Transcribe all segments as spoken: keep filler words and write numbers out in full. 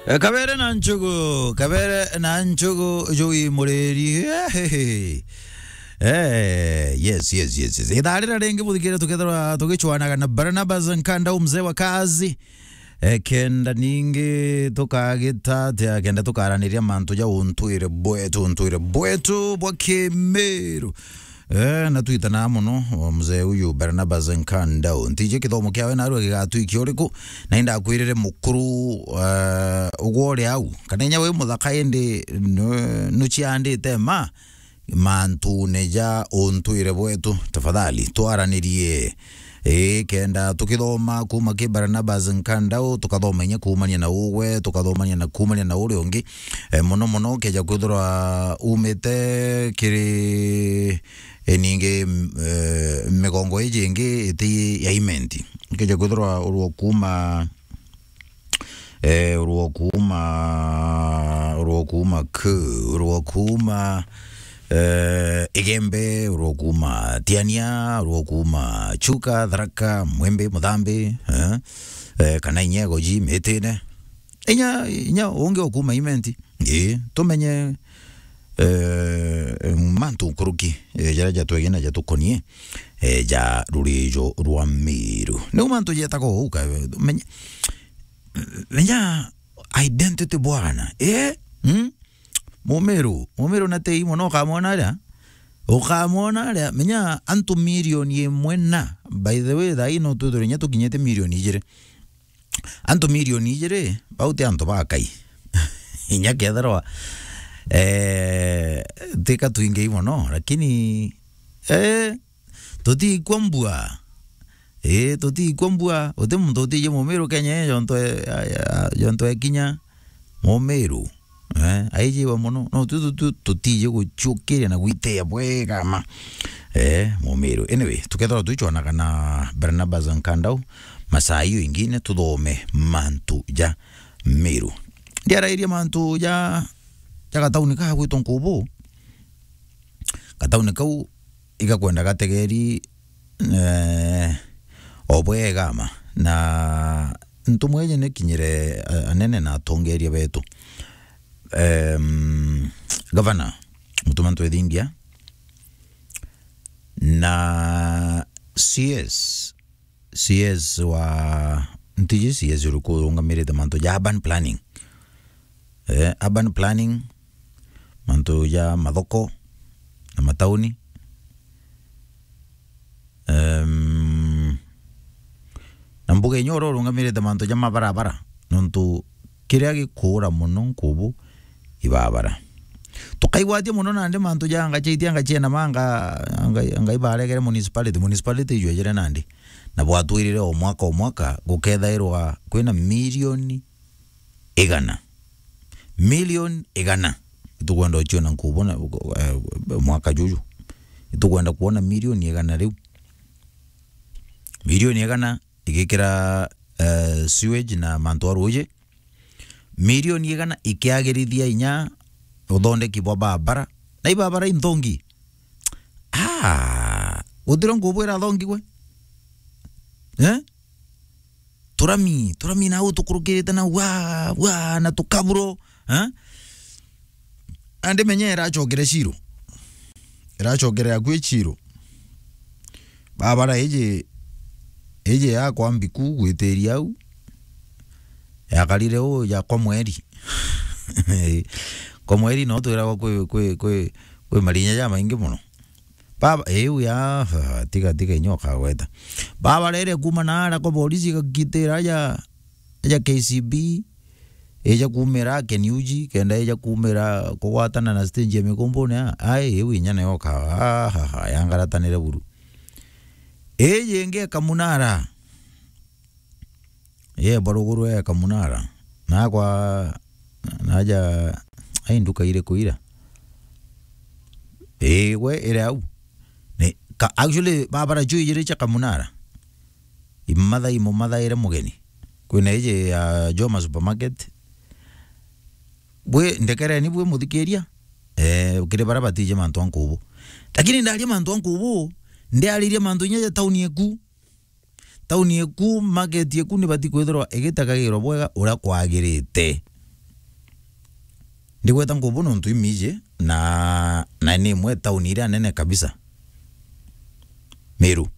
Eh, kabere na nchugu, kabere na nchugu, jui muriri. Eh, yes, yes, yes, yes. Ithaa rira ringi buthikire tukethirwa tugichwanaga na Barnabas Nkandau, mzee wa kazi. Eh, kenda ningi tukagita atia, kenda tukaraniria mantu ja untwire bwetu, untwire bwetu bwa Kimiru. Eh, na twitana mono, o mzee uyu Barnabas Nkandau. Ntiji kithomo kiawe narua gigatwikia uriku, na indakwirire mukuru, eh, ugwo uri au. Kana inya wi muthaka indi nu-, nuciandite ma, mantune ja untwire bwetu. Tafadhali, twaranirie. Ii, kenda tukithoma kuma ki Barnabas Nkandau, tukathoma inya kuumania na ugwe, tukathomania na kuumania na uria ungi. Eh, mono mono, ukeja kwithirwa umite kiri, eh, ningi, m-, eh, migongo iji ingi iti ya Imenti. Ukeja kwithirwa urwo kuma, eh, urwo kuma, urwo kuma ku, urwo kuma, eh, Igembe, urwo kuma Tiania, urwo kuma Chuka, Tharaka, Mwembe, Muthambi, eh, eh, kana inya Igoji, Mitine. Inya, inya ungi ukuma Imenti. Ii, tumenye, eh, mantu nkuruki, eh, jaria jatwegie na jatukonie, eh, ja rurijo rwa Miru. Niu mantu jetaga uu ka, menye, menya identity bwana. Eh? Hmm? Mumiru, Mumiru na tei mono ukamwona aria. Ukamwona aria, menya antu milioni imwe na, by the way, thaa ino twithirwe inya tukinyite milioni ijiri. Antu milioni ijiri, bau ti antu bakai. Inya kethirwa, eh, tika twingei mono, lakini, eh, tutiikua mbua. Eh, tutiikua mbua. Uti muntu utiji Mumiru Kenya ii, jontu e-, ya, ya, jontu ekinya Mumiru. Eh, aijiwa mono. No, tu, tu, tu, tutiji guchukiria na gwitia bwega ma. Eh, Mumiru. Anyway, tukethirwa tuichwanaga na Barnabas Nkandau, masaa iyo ingine tuthome mantu ja Miru. Ndiarairie mantu ja, ja gatauni kaa gwitwa Nkubu. Gatauni kau igakwenda gategeri, eh, o bwega ma. Na ntumwa iji nikinyire, eh, anene na atongeria betu. Em, gavana Mutuma Ntwethingia na C S, C S wa, ntiji C S uriku urungamirite mantu ja urban planning. Eh, urban planning, mantu ja mathoko na matauni. Em, na mbuga inya uria urungamirite mantu ja mabarabara, nontu kiria gikuura mono Nkubu ibabara. Tukaigwatia mono nandi mantu ja anga chaitia anga chiena manga, anga, anga ibaregere municipality, municipality ijwejere nandi. Na bwatwirire o mwaka o mwaka gukethairwa kwina milioni igana. Milioni igana. Itukwenda uchiona Nkubu na, eh, mwaka juju. Itukwenda kuona milioni igana riu. Milioni igana igikira, eh, sewage na mantu a ruuji. Milioni igana ikiagirithia inya uthondeki bwa barabara. Na ibabara inthongi. Ah, gutira Nkubu irathongigwe. Eh? Turami, turami na utukurukirite na wa, wa, na tukaburo, eh? Andi menye irachokere Ciro. Irachokere akui Ciro. Babara iji, iji yakwa mbiku gwitiria au. Yakarire u ya kwa mweri. Kwa mweri no twiragwa kwi, kwi, kwi, kwi marinya ja maingi mono. Baba, iu ya, tiga, tiga inya ukagweta. Baba rere kuma na ara kwa borisi igakitira aja, aja K C B, ija kumira Keniuji, kenda ija kumira kugwatana na stage ya Mikumbune, a, ai, iu inya nayo ka, ahaha, yangaratanire buru. Iji ingi ekamunara. Ye baruguru ekamunara. Nakwa, naja, ai nduka iriku ira? Ii, gwe iri au. Ni, ka, actually, babara juu ijiri cia kamunara. Imatha imumathaire mugeni. Kwina iji ya Joma Supermarket. Bwi, ndekereni bwi muthikiria. Eh, kiri bara batiji mantu a Nkubu. Lakini ndaria mantu a Nkubu, ndiaririe mantu inya ja tauni eku. Tauni eku, market eku nibati kwithirwa igitegagirwa bwega uria kwagirite. Ndigweta Nkubu nontu imiji na, na ni imwe tauni iria nene kabisa. Meru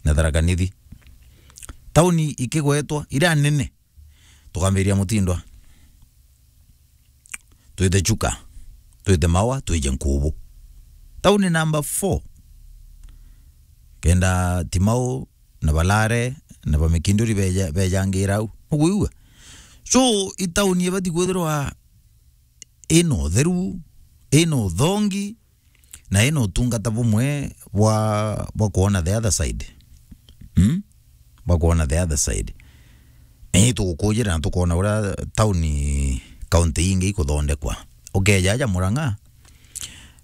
na Tharaka Nithi. Tauni ikigwetwa iria nene. Tukambiria Mutindwa. Twite Chuka. Twite Maua, twije Nkubu. Tauni number four. Kenda Timau, na Balare, na Bamikinduri beja-, bejangira au. Nukwigua? So, i tauni ibati kwithirwa ina utheru, ina uthongi, na ina utungata bumwe bwa, bwa kwona the other side. Hmm? Bwa kwona the other side. Ni tugukujira na tukona uria tauni kaunti ingi ikuthondekwa. Ukeja aja Murang'a,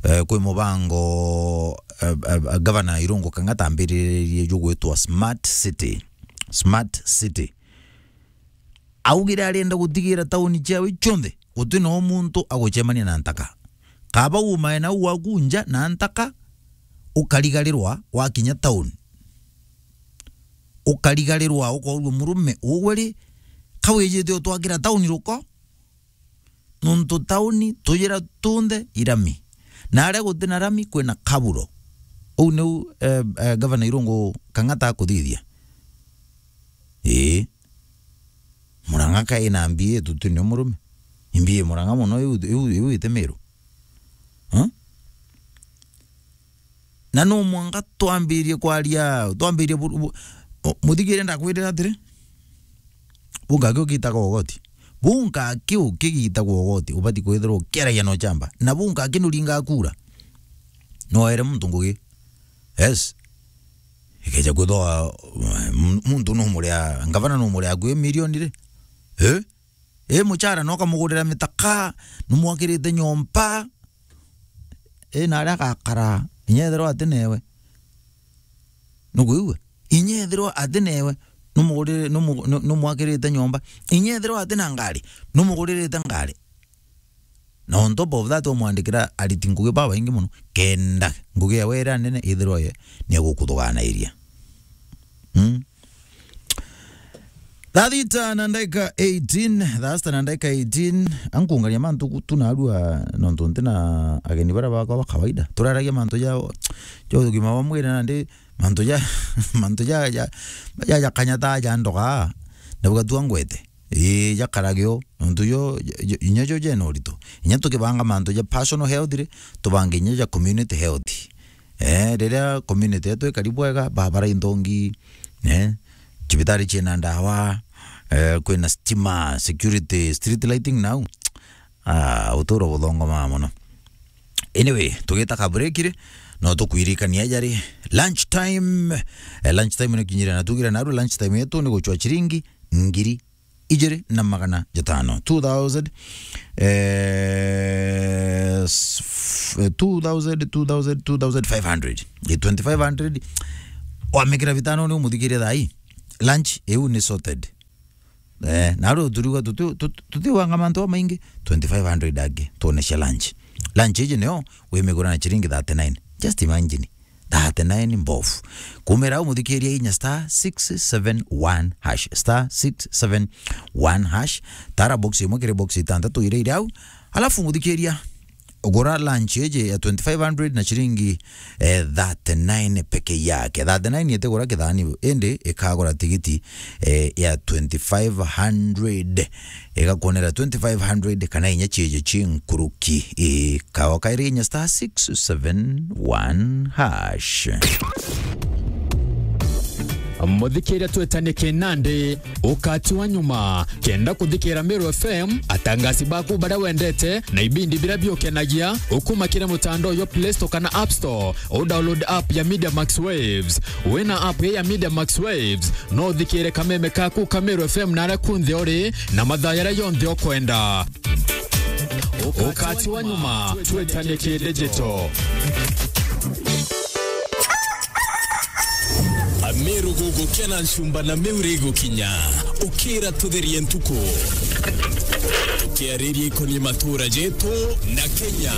eh, kwi mubango, eh, eh, Gavana Irungu Kang'ata ambiririe jugwitwa Smart City. Smart City. Augire arenda gutigira tauni ciawe cionthe guti na muntu agucemania na ntaka. Kaba umae nau waku nja na ntaka, ukarigarirwa wakinya tauni. Ukarigarirwa ukoorua murume ugwe ri, ka wijite utwakira tauni ruko? Nontu tauni tujira tunthe i rami. Na aria guti na rami kwina kaburo. Uu niu, eh, eh, Gavana Irungu Kang'ata akuthithia. Ii. Murang'a ka ina mbia tuti ni murume. Mbia Murang'a mono iu, iu, iu iti Meru. Huh? Na no mwanka twambirie kwaria, twambirie bu-, bu-, o, muthikire ndakwirira atiri, bunka aki ukitaga ugoti. Bunka aki ukigitagwa ugoti, ubati kwithirwa ukiaragia na uchamba. Na bunka aki nuringa kura. No ere muntu ngugi. Yes. Ikeja kwithwa, m-, muntu numuria, ngavana numuria akui milioni ri? Eh? Ii muchara no kamugurira mitaka, numwakirite nyomba. Ii na aria agakara, inya ethirwa ati newe. Nukwigua? Inya ethirwa ati newe, numugurire, numu-, nu-, numwakirite nyomba. Inya ethirwa ati na ngari, numuguririte ngari. Na on top of that, wamwandikira ariti ngugi babaingi mono, kenda ngugi yawe iria nene ithirwa ye ni egukuthuganairia. Mm. Thaa thita na ndaika eighteen, thaa sita na ndaika eighteen, ankungania mantu ku-, tu narua nontu nti na ageni bara bakwa ba kawaida. Turaragia mantu ja, ja ugima bwa mwiri nandi mantu ja, mantu ja, ja, ja, ja kanya ta ja ndoga, na bugatua ngwete. Ii, jakarage o, nontu jo, jo, inya jo jena urito. Inya tukibanga mantu ja personal health ri, tubange inya ja community health. Eh, riria community yetu ikari bwega, barabara inthongi, eh, cibitari ciina ndawa, eh, kwina stima, security, street lighting nau. Ah, uturo buthongomaa mono. Anyway, tugita ka break ri, no tukwirikania jari lunch time. Eh, lunch time ni kinyire na tugire naru lunch time yetu ni guchwa chiringi ngiri ijiri na magana jatano. Two thousand, eh, s-, f-, two thousand, two thousand, two thousand five hundred. Ye twenty-five hundred, wamikira bitano ni umuthikiria thai. Lunch, iu ni sorted. Eh, na riu turiuga tuti-, tuti-, tutiwanga mantu jamaingi, twenty-five hundred angi, tuone cia lunch. Lunch iji nio wimigura na chiringi thirty-nine. Just imagine. Thirty-nine mbofu. Kumira umuthikiria inya star six seven one hash. Star six seven one hash. Tara box imwe kiri box itantatu iria iri au. Alafu muthikiria, ugura lunch iji ya twenty-five hundred na chiringi, eh, thirty-nine peke yake. Thirty-nine itigura kithani, indi ikagura tigiti, eh, ya twenty-five hundred. Igakuonera twenty-five hundred kana inya chieje chi nkuruki. Ii, kawa kairi inya star six seven one hash. Muthikiria twetanie kinandi, ukati wa nyuma. Kenda kuthikira Meru F M, atangasi baku baria wendete, na ibindi biria biukenagia, ukuma kiri mutandao yo Play Store kana App Store, u download app ya Media Max Waves. Wina app ya Media Max Waves, no uthikire kameme kaku ka Meru F M na aria kunthe uri, na mathaa jaria jonthe ukwenda. Ukati wa nyuma, twetanie ki digital. Ameru gugukena ncumba na Meru igukinya. Ukira tutherie ntuku. Kiariria ikoni matura jetu na Kenya.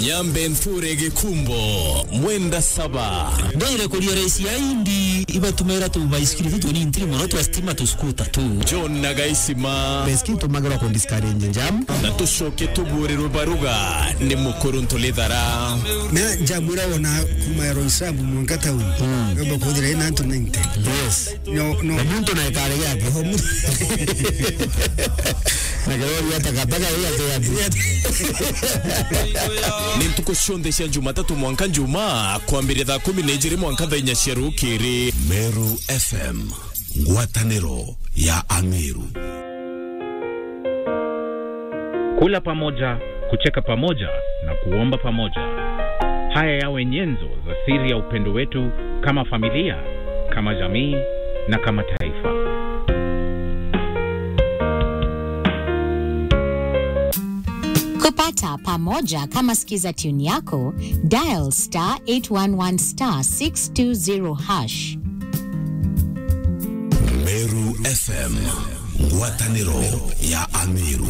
Nyambe nthure Gikumbo, Mwenda Saba. Ndwire kuria raisi ya indi, ibatumaira tu baisikiri tu tuni ntiri mono twa stima tu skuta tu. John na Gaisima. Baisikiri tumagirwa ku discourage jam. Na tucoke tuburirwe baruga ni mukuru Ntulithara. Na jam ira wona kuma ya Roysambu mwanka town. Mm. Gamba kuthira ina antu ninety. Yes. No, no. Na muntu na ikare yake. Oh, mu- Na kirori ya takataka ya te ya. Ni ntuku cionthe cia Jumatatu mwanka Njumaa, kwambiria thaa kumi na ijiri mwanka thaa inya cia rukiri. Meru F M, ngwataniro ya Ameru. Kula pamoja, kucheka pamoja na kuomba pamoja. Haya yawe nyenzo za siri ya upendo wetu kama familia, kama jamii na kama taifa. Kupata pamoja kama skiza tune yako, dial star eight one one star six two zero hash. Meru F M, ngwataniro ya Ameru.